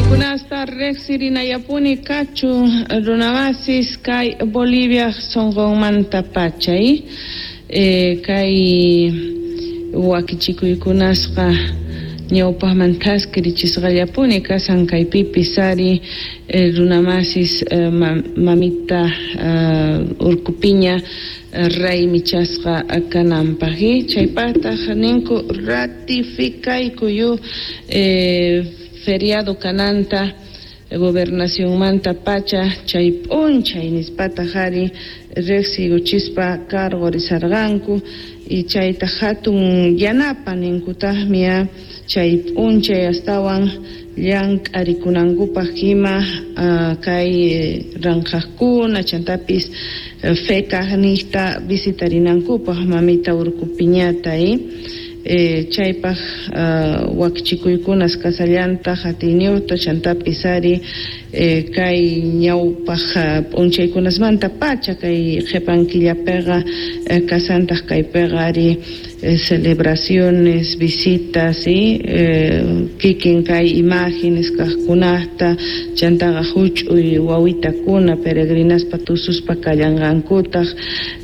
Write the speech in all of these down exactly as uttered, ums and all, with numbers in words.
Chaykunasta riqsirinayapuni kachun, runamasis, kay Bolivia sunqunmanta pachay eh, kay wakichikuykunasqa ñawpaqman thaskirichisqallapuni kasan. Kaypipis ari eh, runamasis, eh, mamita uh, Urkupiña raymichasqa kananpaq. Chaypaqtaq ninku ratificaykuyu eh, feriado kananta gobernacionmanta pacha chay p'unchay nispataq ari riqsiykuchispa cargorisarqanku. Y chayta hatun yanapa ninkutaqmi chay p'unchay astawan llank'arikunankupaq ima kay ranqhaqkuna chantapis fecaqniqta visitarinankupaq mamita Urkupiñata. eh, chaypaq uh, wakichikuykunas kasallantaq atiyniyuqta chantapis ari eh, kay ñawpaq p'unchaykunasmanta pacha kay qhipan killapiqa eh, kasantaq kaypiqa ari eh, celebraciones, visitas, ¿sí? eh, kikin kay imágenes kaqkunata chantaqa huch'uy wawitakuna peregrinaspa tususpa kallanqankutaq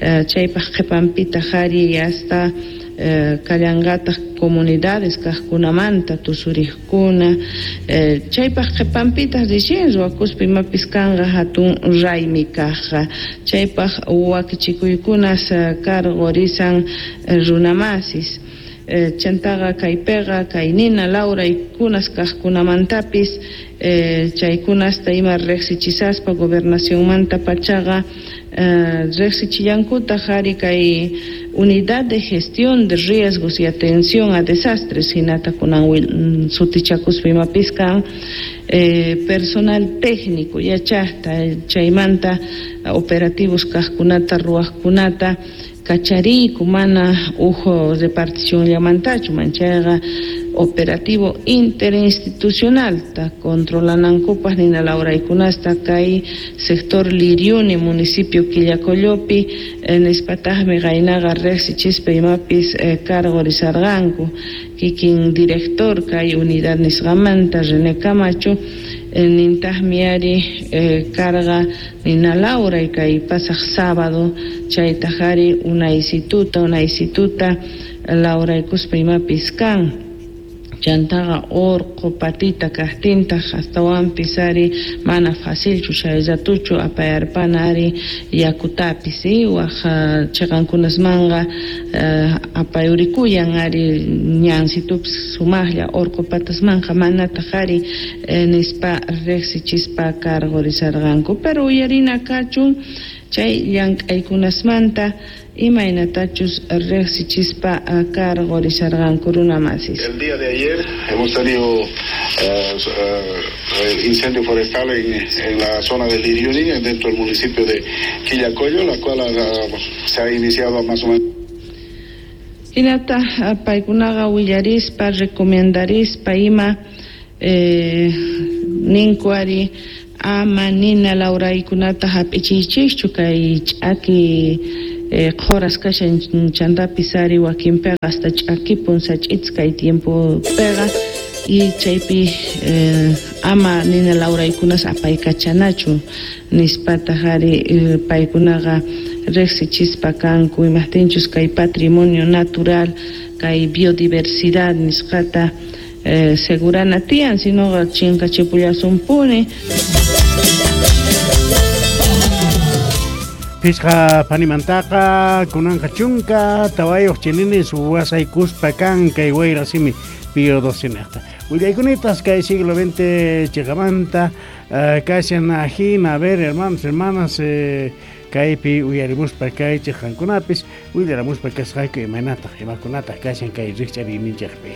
eh, chaypaq qhipanpitaq ari hasta eh, kallanqataq comunidades kaqkunamanta tusuriqkuna eh, chaypaq qhipanpitaq recién ruwakuspa imapis kanqa hatun raymi kaqqa. Chaypaq wakichikuykunas karqurisan runamasis. eh, chantaqa kaypiqa kay nina lawraykunas kaqkunamantapis eh, chaykunasta ima riqsichisaspa gobernacionmanta pachaqa eh, riqsichillankutaq ari kay Unidad de Gestión de Riesgos y Atención a Desastres hinata kunan sutichakuspa imapis kan eh, personal técnico yachaqta chaymanta operativos kaqkunata ruwaqkunata kachariyku mana uj reparticionllamantachu manchayqa operativo interinstitucionalta controlanankupaq nina lawraykunasta kay sector Liriuni, municipio Quillacollopi eh, nispataqmi qaynaqa riqsichispa imapis eh, cargorisarqanku kikin director kay unidad nisqamanta René Camacho eh, nintaqmi ari eh, carga nina lawray kay pasaq sábado chaytaq ari unaysituta unaysituta lawraykuspa imapis kan. Chantaqa urqu patita kaqtintaq astawanpis ari mana facilchu chay ratuchu apayarpana ari yakutapis waq chiqankunasmanqa apayurikuyan ari ñansitupis sumaqlla urqu patasmanqa manataq ari nispa riqsichispa cargorisarqanku. Pero uyarina kachun chay llank'aykunasmanta imaynatachus riqsichispa cargorisarqanku runamasis. El día de ayer hemos tenido uh, uh, incendio forestal en, en la zona de Liriuni, dentro del municipio de Quillacollo, la cual uh, se ha iniciado más o menos. Hinata paykunaqa willarispa recomendarispa ima eh, ninku ari ama nina lawraykunata hap'ichiychikchu kay ch'aki eh, qhuras kashan chantapis ari wakinpiqa hasta ch'akipun sach'it's kay tiempopiqa y chaypi eh, ama nina lawraykunas apaykachanachu nispataq ari eh, paykunaqa riqsichispa kanku imaqtinchus kay patrimonio natural kay biodiversidad nisqata eh, segurana tiyan sinoqa chinkachipullasunpuni. Pisqa panimantaqa kunanqa chunka tawayuq chininis wasaykuspa kan kay wayra simi Pío doce niqta. Willaykunitas kay siglo veinte chiqamanta uh, kashan ajina. A ver, hermanos, hermanas, eh, kaypi uyarimuspa kay chiqankunapis willaramuspa kasqayku imaynataq imakunataq kashan kay rikch'ariyninchikpi.